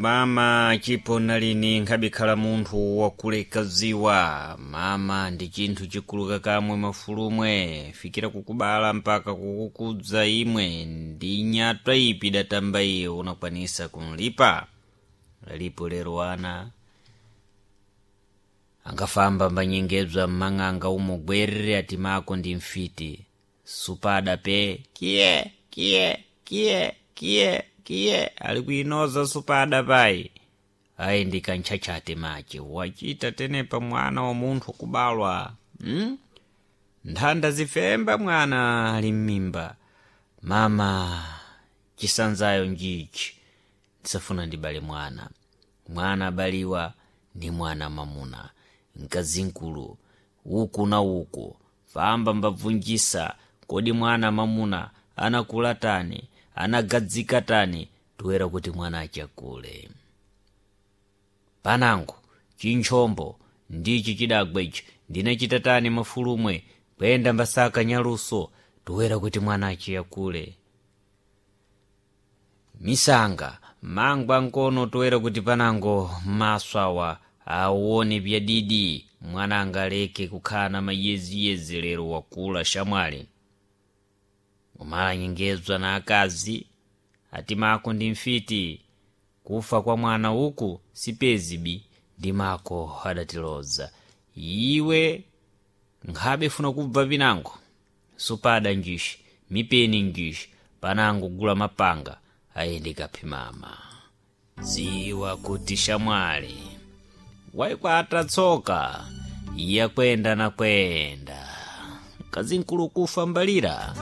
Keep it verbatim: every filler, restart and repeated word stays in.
Mama chipo nalini nkhabikhala munthu wakuleka ziwa. Mama ndi chinthu chikuluka kamwe mafulumwe, fikira kukubala mpaka kukukudza imwe. Ndi nyatwa ipi idatamba iye unakwanisa kunlipa? Alipo lero ana angafamba mbanyengedzwa mmang'anga umo gwerere ati mako ndi mfiti. Supada pe kiye kiye kiye kiye kiye ali kuinoza supada payi. Ayi ndi kantchachate mache wachita tenepa mwana wa munthu kubalwa, hmm? Nthanda zifemba mwana ali m'mimba. Mama chisanzayo njichi, ndisafuna ndibale mwana. Mwana abaliwa ndi mwana mamuna, mkazinkulu uku na uku famba mbabvunjisa, kodi mwana mamuna anakula tani, anagadzika tani, toera kuti mwana achakule. Panango chinchombo ndichi chidagwa ichi ndinachita tani mafulumwe, kuyenda mbasaka nyaluso, toera kuti mwana achiyakule. Misanga mangwa nkono toera kuti panango maso awa aone byadidi, mwana angaleke kukhala na mayeziyezi lero wakula shamwali. Umalanyengedzwa na akazi ati mako ndi mfiti, kufa kwa mwana uku sipezibi ndi mako adatiloza. Iwe nkhabe funa kubva pinango, supada njishi mipeni njishi, panango gula mapanga ayende kaphimama. Ziwa kuti shamwali waikwata tsoka yakwenda na kwenda, mkazinkulu kufa mbalira.